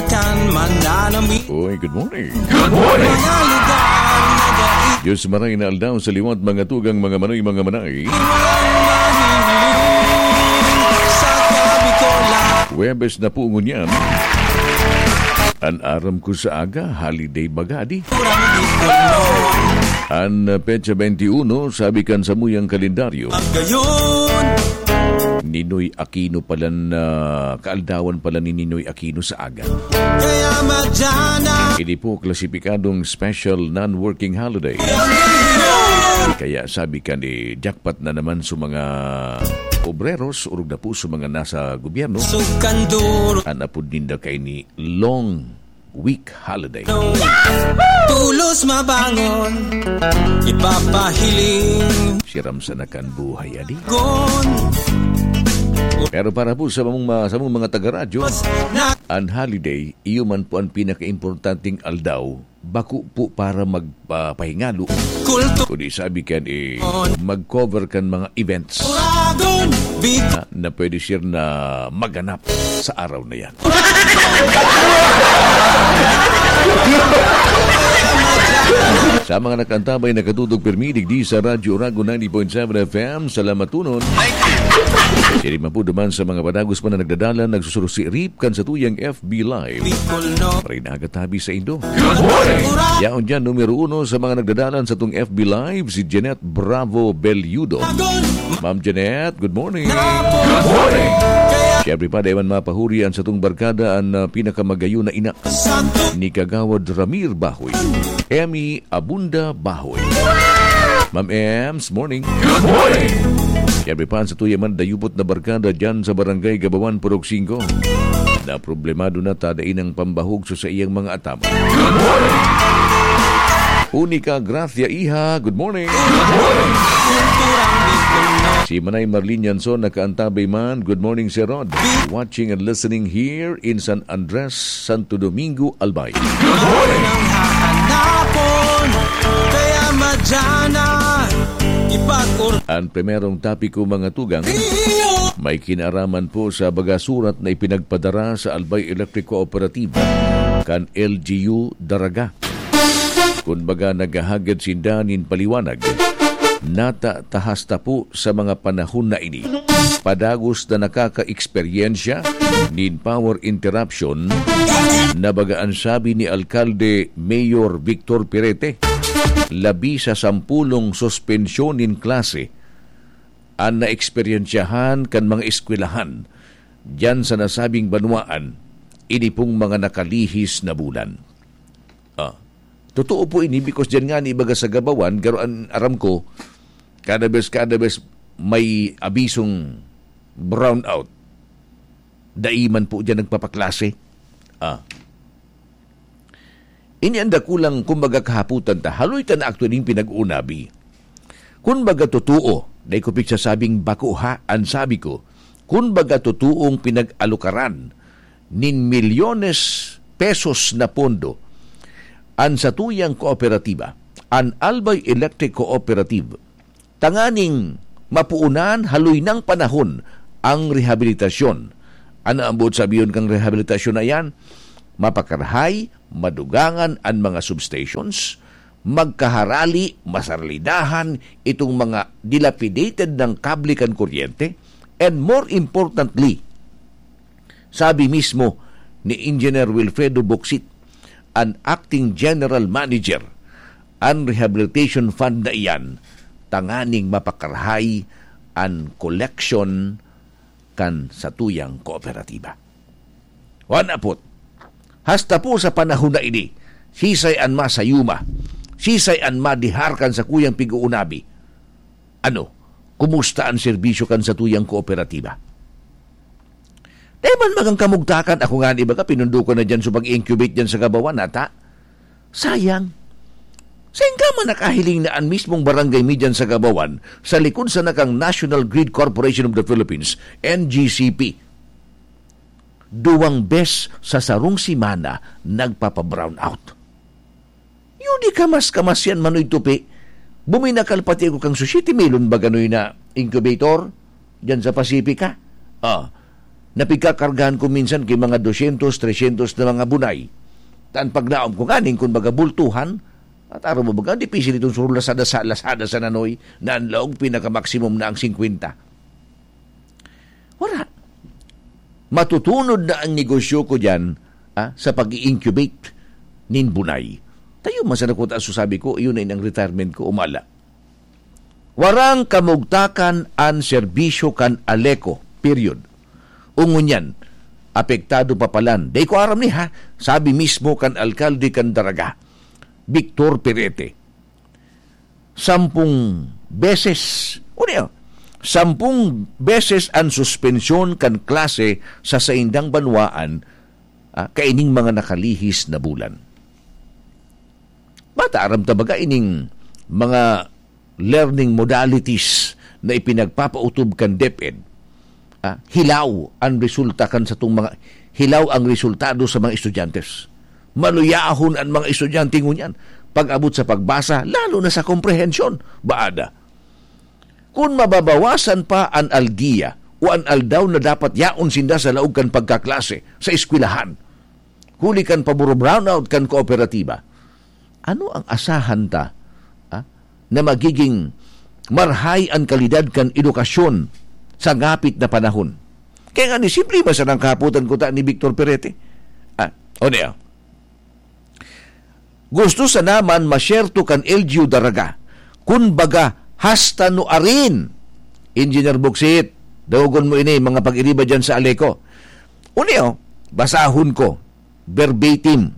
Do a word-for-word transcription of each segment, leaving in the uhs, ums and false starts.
Kan mananami. Uy, good morning. Good morning. Mga lugar na dai. Diyos maray na aldaw sa liwat, mga tugang, mga manoy, mga manay. Iwan mahiling sa gabi ko lang. Huwebes na po ngunyan. An aram ko sa aga, holiday bagadi. Kurang di ko An, uh, petsa twenty-one, sabi kan samuyang kalendaryo, Pag gayon. Ninoy Aquino pala na, kaaldawan pala ni Ninoy Aquino sa aga. Kaya madyan na. Ini po klasipikadong special non-working holiday. Kaya sabi ka ni jackpot na naman sa mga obreros, urog na po sa mga nasa gobyerno. Sukanduro. An apod ninda kay ni long week holiday. Tulos mabangon, ipapahiling. Siram sana kan buhay, adi. Gon. Pero para po sa mong ma-, sa mong mga taga-radyo, Mas na- an holiday, iyo man po an pinakaimportanteng aldaw, bako po para magpapahingalo. Kulto. Kundi sabi kan, eh, On. Mag-cover kan mga events. Uragon, big Na, na pwede siya na maganap sa araw na yan. Sa mga nakantabay, nakatudog pirmi digdi sa Radyo Uragon ninety point seven F M, salamat tunon. Sirima po duman sa mga padagos pa na nagdadalan, nagsusurusi rip kan satuyang F B Live. Bicol, no? Maray na aga tabi sa indo. Good morning. Yaon dyan, numero uno sa mga nagdadalan sa tong F B Live, si Jeanette Bravo Belludo. Ma'am Jeanette, good morning. Good morning. Siyempre pa, dai man mapahuri an satong barkada, an, ah, pinakamagayon na ina ni Kagawad Ramir Bahoy, Emmy Abunda Bahoy. Ma'am Ems, morning. Good morning. Siyempre pa, an satuya man dayupot na barkada dyan sa Barangay Gabawan, Purok Singko. Na problemado na ta dai nang pambahog sa saiyang mga atama. Good morning. Unica Gracia Iha, good morning. Si Manay Marlene Yanson nakaantabay man, good morning, Sir Rod. Watching and listening here in San Andres, Santo Domingo, Albay. Good morning. Ang hahanapon, kaya madyan na ipag-ur- Ang primerong topiko, mga tugang, Iyo. May kinaraman po sa baga surat na ipinagpadara sa Albay Electric Cooperative kan L G U Daraga. Kun baga, naghahagad sinda nin paliwanag. Nata ta hasta po sa mga panahon na ini, padagos na nakakaeksperyensya nin power interruption, na baga an sabi ni Alkalde Mayor Victor Pirete, labi sa sampolong suspensyon nin klase an naeksperyensyahan kan mga eskwelahan diyan sa nasabing banwaan ini pong mga nakalihis na bulan. Ah, totoo po ini, because diyan nga ni baga sa Gabawan, garo an aram ko, kada bes, kada bes may abisong brownout, dai man po diyan nagpapaklase. Ah. Ini an dakulang, kumbaga, kahapotan ta. Haloy ta na actually pinag-uunabi. Kun baga totoo, dai ko pigsasabing bako ha, an sabi ko, kun baga totoong pinag-alukaran nin milyones pesos na pondo an satuyang kooperatiba, an Albay Electric Cooperative, tanganing mapuunan haloy nang panahon ang rehabilitasyon. Ano ang buot sabihon kang rehabilitasyon na iyan? Mapakarahay, madugangan an mga substations, magkaharali, masaralidahan itong mga dilapidated ng kable kan kuryente, and more importantly, sabi mismo ni Engineer Wilfredo Boksit, an acting general manager, an rehabilitation fund na iyan, tanganing mapakarahay an koleksyon kan satuyang kooperatiba. Wan apot, hasta po sa panahon na ini, sisay an masayuma, sisay an madihar kan sakuyang pig-uunabi. Ano, kumusta an serbisyo kan satuyang kooperatiba? Dai man bagang kamugtakan, ako ngani baga, pinundokon na diyan sa pag-incubate diyan sa Gabawan, nata? Sayang. Sain ka man nakahiling na an mismong barangay mi diyan sa Gabawan, sa likod sana kang National Grid Corporation of the Philippines, N G C P, duwang bes sa sarong semana nagpapa-brownout. Yun di kamas-kamas yan, Manoy Tupi. Buminakal pati ako kang Sushi Melon ba ganoy na incubator dyan sa Pacifica. Ah, na pigkakargahan ko minsan ki mga dosyentos, tresyentos na mga bunay. Ta an paglaom ko nganing kun baga bultuhan, at aram mo baga, dipisil itong surong Lazada sa, Lazada sa Nanoy na an laog pinakamaksimum na ang singkwenta. Wala. Matutunod na ang negosyo ko diyan, ah, sa pag-i-incubate nin bunay. Tayo man sa nakuta, so sabi ko, iyon na ang retirement ko, umala. Warang kamugtakan an serbisyo kan Aleco, period. O ngunyan, apektado pa palan. Dai ko aram ni ha, sabi mismo kan alkalde kan Daraga, Victor Perete. Sampung beses, o niya, sampung beses an suspensyon kan klase sa saindang banwaan, ah, kaining mga nakalihis na bulan. Bata, aram ta baga ining mga learning modalities na ipinagpapautob kan DepEd, ah, hilaw ang resulta kan satong mga, hilaw ang resultado sa mga estudyante. Maluyahon an mga estudyante ngunyan pag-abot sa pagbasa, lalo na sa komprehensyon. Baada, kun mababawasan pa an algiya o an aldaw na dapat yaon sinda sa laog kan pagkaklase sa eskwelahan, huli kan paboro-brownout kan kooperatiba, ano ang asahan ta, ah, na magiging marhay an kalidad kan edukasyon sa ngapit na panahon? Kaya nga ni, simple man sanang kahapotan ko ta ni Victor Perete. Ah, o niya, gusto sana man masyerto kan L G U Daraga, kun baga, hasta nuarin. Engineer Buksit, daogon mo ini, mga pag-iriba dyan sa Aleco. O niya, basahon ko. Verbatim.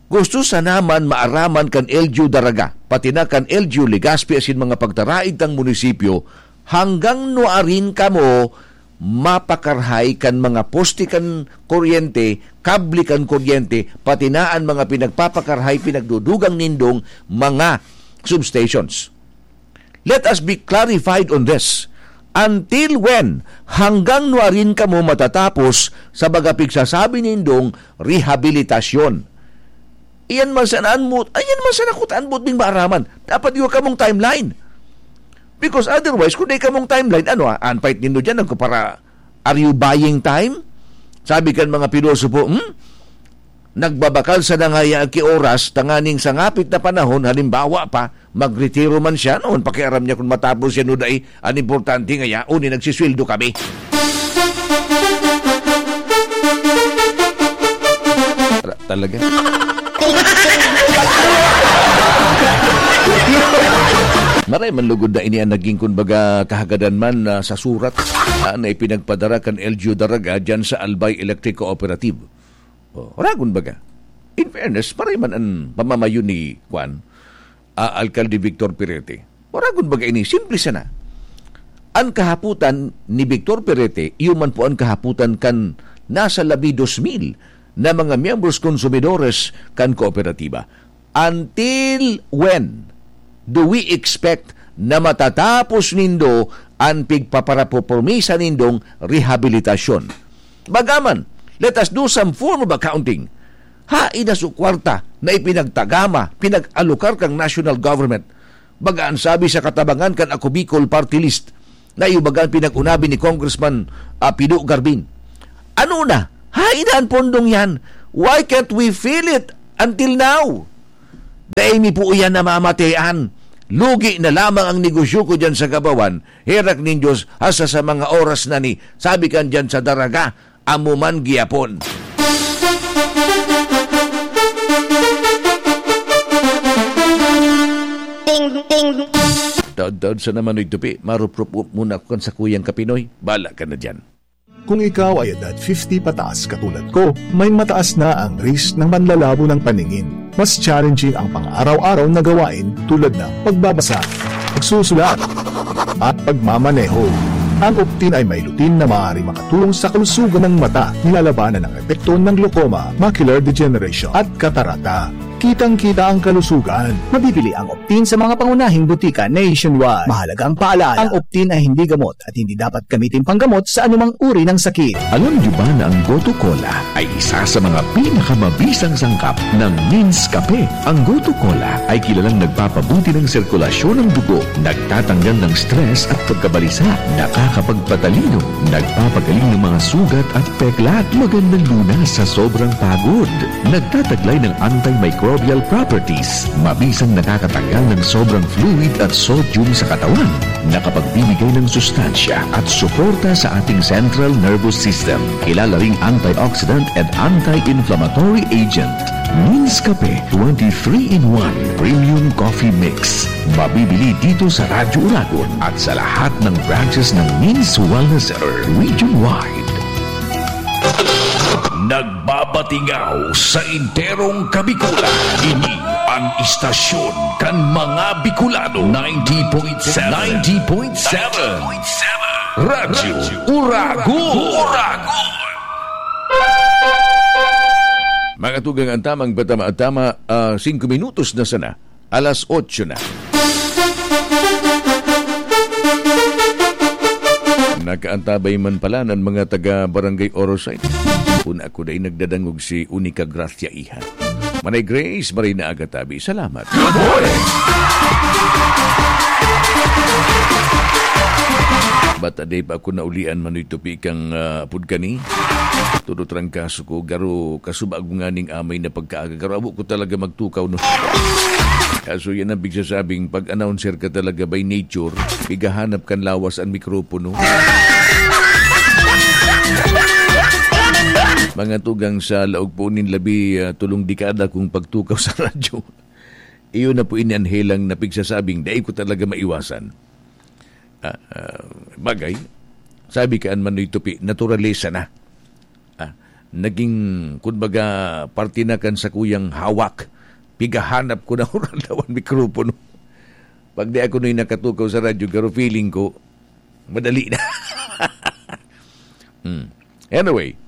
Gusto sana man maaraman kan L G U Daraga, pati na kan L G U Legazpi asin mga pagtaraig tang munisipyo, hanggang nuarin kamo mapakarhay kan mga poste kan kuryente, kable kan kuryente, pati na an mga pinagpapakarhay, pinagdudugang nindong mga substations. Let us be clarified on this. Until when? Hanggang nuarin kamo matatapos sa baga pigsasabi nindong rehabilitasyon? Iyan man sana an mut-, iyan man sana kuta an mutbing maaraman. Dapat iyo kamong timeline. Because otherwise, kung di kamong timeline, ano, ah, an pait nindo dyan, nagkupara, are you buying time? Sabi kan mga pilosopo, hmm? Nagbabakal sana ngaya ki oras tanganing sa ngapit na panahon, halimbawa pa, magretiro man siya, noon pakiaram niya kung matapos yan o dai. An importante ngaya, uni nagsisweldo kami. Ra-, talaga. Maray man lugod na ini an naging, kumbaga, kahagadan man, ah, sa surat, ah, na ipinagpadara kan L G U Daraga dyan sa Albay Electric Cooperative. Oh, oragon baga. In fairness, maray man an pamamayo ni, kwan, ah, Alkalde Victor Perete. Oragon baga ini, simple sana. An kahapotan ni Victor Perete, iyo man po an kahapotan kan nasa labi dos mil na mga miyembros konsumidores kan kooperatiba. Until when do we expect na matatapos nindo an pigpaparapopromisa nindong rehabilitasyon? Baga man, let us do some form of accounting. Hain na su kwarta na ipinagtagama, pinag-alokar kang national government? Baga an sabi sa katabangan kan Ako Bicol Party List, na iyo baga an pinag-unabi ni Congressman, ah, Pido Garbin. Ano na? Hain na an pondong yan? Why can't we feel it until now? Dai mi po iyan namamatean. Lugi na lamang ang negosyo ko diyan sa Gabawan. Herak nin Diyos, hasta sa mga oras na ni, sabi kan diyan sa Daraga, amo man gihapon. Ting, ting. Taod-taod sa naman, Noy Tupi, maruprop muna ako kan sakuyang kapinoy. Bala ka na diyan. Kung ikaw ay edad fifty pataas katulad ko, may mataas na ang risk ng panlalabo ng paningin. Mas challenging ang pang-araw-araw na gawain tulad ng pagbabasa, pagsusulat, at pagmamaneho. Ang Optin ay may lutein na maaari makatulong sa kalusugan ng mata, nilalabanan ang epekto ng glaucoma, macular degeneration, at katarata. Kitang-kita ang kalusugan. Mabibili ang Optin sa mga pangunahing butika nationwide. Mahalagang paalala, ang Optin ay hindi gamot at hindi dapat gamitin panggamot sa anumang uri ng sakit. Alam niyo ba na ang Goto Cola ay isa sa mga pinakamabisang sangkap ng Minds Kape? Ang Goto Cola ay kilalang nagpapabuti ng sirkulasyon ng dugo, nagtatanggal ng stress at pagkabalisa, nakakapagpatalino, nagpapagaling ng mga sugat at peklat, magandang lunas sa sobrang pagod, nagtataglay ng antimicrobial properties, mabisang nakakatanggal ng sobrang fluid at sodium sa katawan, nakapagbibigay ng sustansya at suporta sa ating central nervous system. Kilala ring antioxidant and anti-inflammatory agent. Minds Kape twenty-three-in-one Premium Coffee Mix. Mabibili dito sa Radyo Uragon at sa lahat ng branches ng Minds Wellness Center region-wide. Nagbabatingaw sa enterong Kabikulan. Ini ang istasyon kan mga Bicolano. Ninety point seven. Ninety point seven. Radyo Uragon. Mga tugang, ang tamang patama-tama, ah, singko minutos na sana. Alas otso na. Nakaantabay man pala ng mga taga Barangay Orosay. Kun ako dai nagdadangog si Unica Gracia Iha. Manay Grace, maray na aga tabi. Salamat. Good morning! Bata day pa ako naulian, Manoy Tupi, kang, ah, apod kani. Todo trangkaso ko, garo kasubago nganing amay na pagkaaga. Garo abo ko talaga magtukaw, no? Kaso yan ang pigsasabing, pag announcer ka talaga by nature, pigahanap kan lawas ang mikropono. Mga tugang, sa laog po nin labi, ah, tulong dekada kong pagtukaw sa radyo. Iyon na po ini an helang na pigsasabing dai ko talaga maiwasan. Ah, ah, bagay, sabi kan Manoy Tupi, naturalesa na. Ah, naging, kumbaga, parte na kan sakuyang hawak. Pigahanap ko na oral daw an mikropono. Pag di ako noy nakatukaw sa radyo, pero feeling ko, madali na. Hmm. Anyway,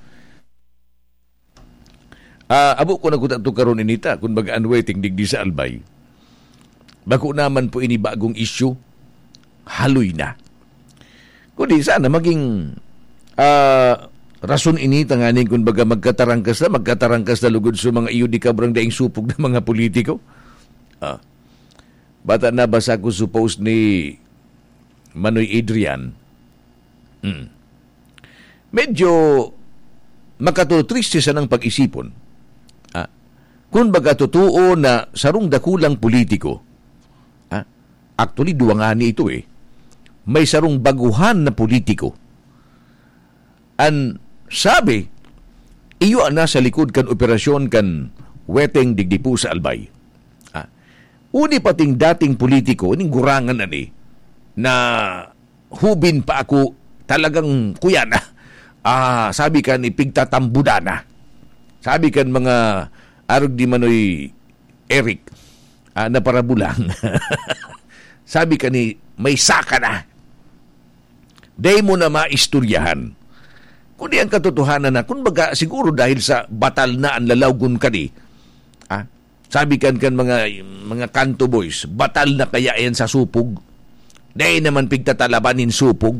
ah, abo ko na kuta to karon inita, kun baga an weteng digdi sa Albay. Bako naman po ini bagong issue, haloy na. Kundi sana maging, ah, rason ini tanganing kun baga magkatarangkas na, magkatarangkas na lugod sa mga iyo di kabrang daing supog na mga politiko. Ah, bata nabasa ko sa post ni Manoy Adrian. Hmm. Medyo makatutriste sanang pag-isipon. Ah, kun baga totoo na sarong dakulang politiko, ah, actually, duwa ngani ito eh. May sarong baguhan na politiko. An sabi, iyo an nasa likod kan operasyon kan weteng digdi po sa Albay. Ah, uni pating dating politiko, ning gurangan ani, na hubin pa ako, talagang kuya na. Ah, sabi kan ipigtatambudana. Sabi kan mga arog di Manoy Eric, ah, na parabulang. Sabi kan ni, "May saka na. Dai mo na maistoryahan." Kundi ang katotohanan na, kun baga, siguro dahil sa batal na ang lalawgon kani, ah, sabi kan, kan mga, mga kanto boys, "Batal na kaya yan sa supog? Dai naman pigtatalaban nin supog."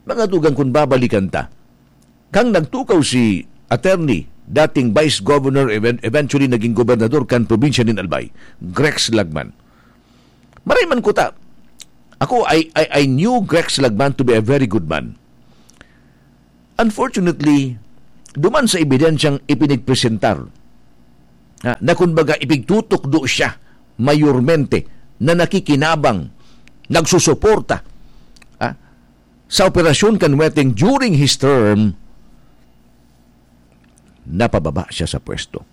Mga tugang, kun babalikan ta, kang nagtukaw si attorney, dating Vice Governor, even-, eventually naging gobernador kan probinsya nin Albay, Grex Lagman. Maray man kuta. Ako, I, I, I knew Grex Lagman to be a very good man. Unfortunately, duman sa ebidensyang ipinigpresentar, ha, na kumbaga ipigtutukdo siya, mayormente, na nakikinabang, nagsusuporta, ha, sa operasyon kan weteng during his term, napababa siya sa pwesto.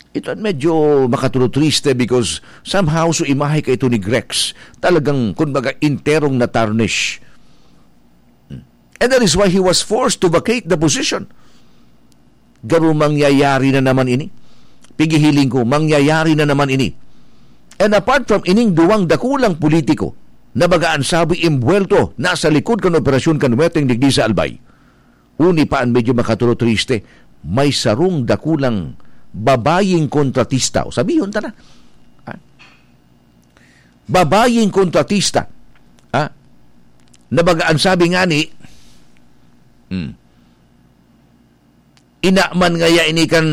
Ito an medyo makatulotriste because somehow so imahe kaito ni Grex, talagang, kumbaga, enterong na-tarnish. And that is why he was forced to vacate the position. Garo mangyayari na naman ini. Pigihiling ko, mangyayari na naman ini. And apart from ining duwang dakulang politiko na baga an sabi imbwelto na sa likod kan operasyon kan weteng digdi sa Albay, uni pa an medyo makatulotriste, may sarong dakulang babayeng kontratista. O, sabihon ta na. Ah, babayeng kontratista. Ah, na baga an sabi ngani, hmm, ina man ngaya ini kan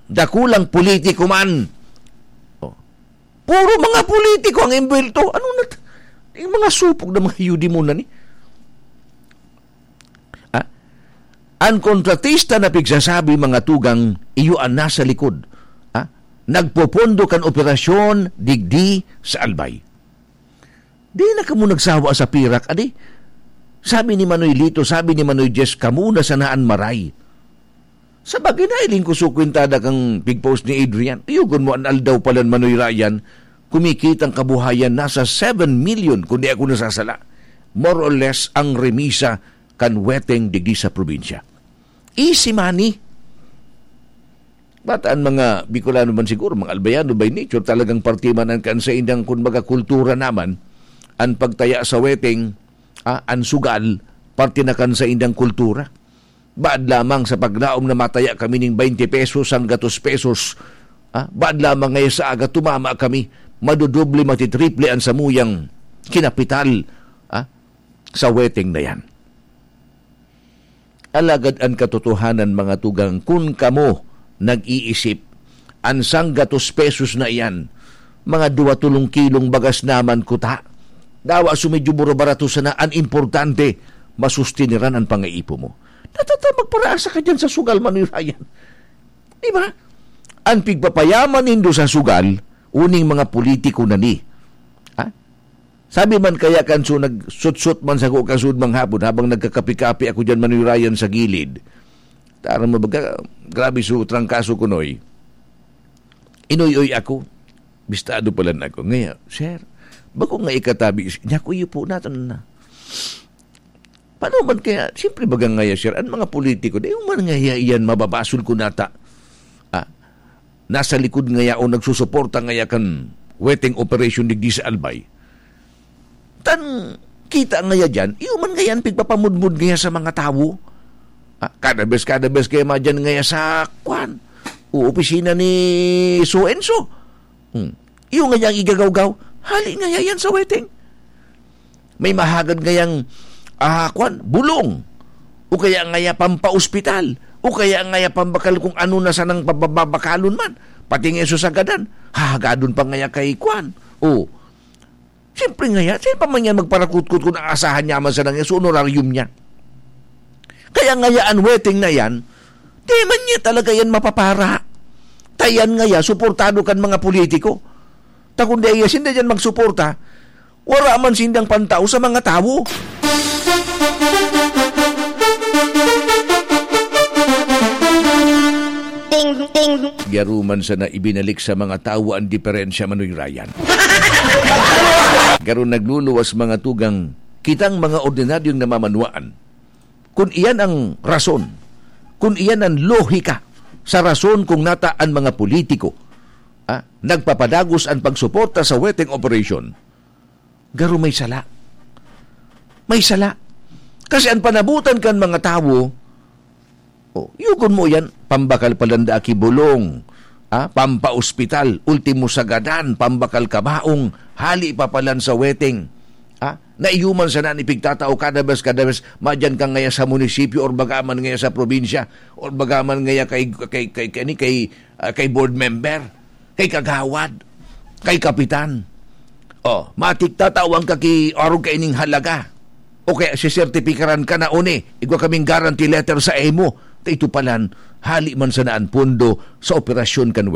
dakulang politiko man. Oh. Puro mga politiko ang imbwelto. Ano na t-, yung mga supog na mga yudimon na ni? Ah? An kontratista na pigsasabi, mga tugang, iyo an nasa likod. Ah? Nagpopondo kan operasyon digdi sa Albay. Di na kamo nagsawa sa pirak, adi? Sabi ni Manoy Lito, sabi ni Manoy Jess, kamo na sana an maray. Sa bagay, nailing ko sa kwentada kang pigpost ni Adrian. Iyogon mo an aldaw palan, Manoy Ryan, kumikitang kabuhayan nasa seven million, kung di ako nasasala. More or less ang remisa kan weteng digdi sa probinsya. Easy money. Bata an mga Bicolano man siguro, mga Albayano by nature, talagang parte man an kan saindang, kumbaga, kultura naman, an pagtaya sa weteng, ah, an sugal, parte na kan saindang kultura. Baad lamang sa paglaom na mataya kami ning twenty pesos hanggatos pesos, ah, baad lamang ngaya sa aga tumama kami, madodoble, matitriple an samuyang kinapital, ah, sa weteng na yan. Alagad an katotohanan, mga tugang, kun kamo nag-iisip, an sanggatos pesos na iyan, mga duwa tolong kilong bagas naman kuta. Dawa so medyo mura-barato sana, an importante, masustiniran an pangaipo mo. Natata-, magparaasa ka dyan sa sugal, Manoy Ryan. Di ba? An pigpapayaman nindo sa sugal, uning mga politiko na ni. Ha? Sabi man kaya kan su-, nagsutsot man sako kasud manghapon habang nagkakape-kape ako diyan, Manoy Ryan, sa gilid. Tara mo baga, grabe su trangkaso ko, Noy. Inoy-oy ako. Bistado palan ako. Ngaya, "Sir, bako nga ikatabi, niya ko iyo po natin na." Paano man kaya? Siyempre, baga ngaya, sir, ang mga politiko, di man ngaya iyan mababasol ko nata. Ah, nasa likod ngaya o nagsusuporta ngaya kan weteng operation digdi sa Albay. Tan kita ngaya diyan, iyo man ngaya an pigpapamudmod ngaya sa mga tawo. Ah, kada bes, kada bes kaya madyan ngaya sa, kwan, o opisina ni so and so. Hmm. Iyo ngaya an igagawgaw, hali ngaya yan sa weteng. May mahagad ngayang, ah, kwan, bulong. O kaya ngaya pampaospital. O kaya ngaya pambakal kung ano na sanang pababakalon man. Pati nga susagadan, hahagadon pa ngaya kay kwan. O, siyempre ngaya, sino pa man yan magparakutkot kung aasahan niya man sana ngaya sa honorarium niya? Kaya ngaya an weteng na yan, di man niya talaga yan mapapara. Ta yan ngaya, suportado kan mga politiko. Ta kung di iya sinda dyan magsuporta, wala man sindang pantao sa mga tawo. Ting, ting. Garo man sana ibinalik sa mga tawo ang diferensya, Manoy Ryan. Garo nagluluwas, mga tugang, kitang mga ordinaryong namamanwaan. Kun iyan ang rason, kun iyan ang lohika sa rason kung nata an mga politiko, ah, nagpapadagos an pagsuporta sa weteng operation, garo may sala. May sala. Kasi an panabutan kan mga tawo, oh, yugon mo yan, pambakal palan daa ki bulong, ah, pampaospital, ultimo sagadan, pambakal kabaong, hali pa palan sa weteng. Ah, na iyo man sana an ipigtatao kada bes, kada bes, madyan ka ngaya sa munisipyo or baga man ngaya sa probinsya or baga man ngaya kay, kay, kay, kay, kay, ah, kay board member, kay kagawad, kay kapitan. Oh, matik tatawan ka ki arog kaining halaga. O kaya sisertipikaran ka na, "Oni, igwa kaming guarantee letter sa imo." Ta ito palan, hali man sana an pondo sa operasyon kan